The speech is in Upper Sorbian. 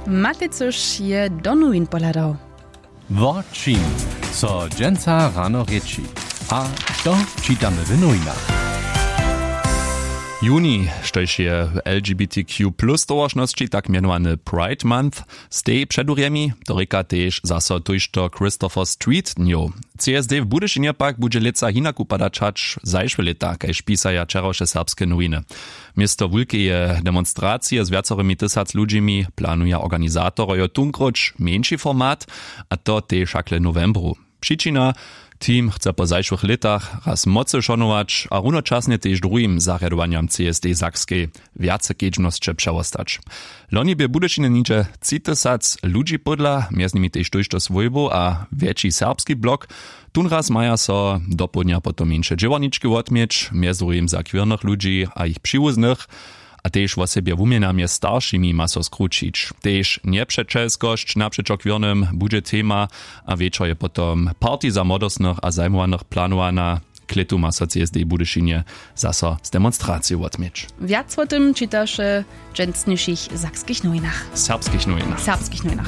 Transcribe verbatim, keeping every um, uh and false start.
Matej cyž je do nowin pohladał. Wo čim so dźensa rano rěči a što čitamy w nowinach? Juni, štož je w L G B T Q plus towaršnosći tak mjenowany Pride Month, stej předurjemi, to rěka tež zaso tójšto Christopher Street dnjow. C S D w Budyšinje pak budźe lětsa hinak wupadać hač zašłe lěta, kaž pisaja wčerawše serbske nowiny. Město wulkeje demonstracije z wjacorymi tysac ludźimi planuja organizatorojo tunkróć mjeńši format, a to tež hakle w nowembru. Přičina: team chce po zašłych lětach raz mocy šonować a runočasnje tež druhim zarjadowanjam C S D Sakskej wjace kedźbnosće přewostać. Loni bě w Budyšinje něhdźe tři tysac ludźi pódla, mjez nimi tež tójšto swójbow a wjetši serbski blok. Tónraz maja so dopołdnja potom mjeńše dźěłarnički wotměć, mjez druhim za queernych ludźi a jich přiwuznych. A tež wosebje wuměna mjez staršimi ma so skrućić. Tež njepřećelskosć napřećo queernym budźe tema, a wječor je potom party za młodostnych a zajmowanych planowana. Klětu ma so C S D w Budyšinje zaso z demonstraciju wotměć. Wjac wo tym čitaše w dźensnišich sakskich nowinach, serbskich nowinach, serbskich nowinach.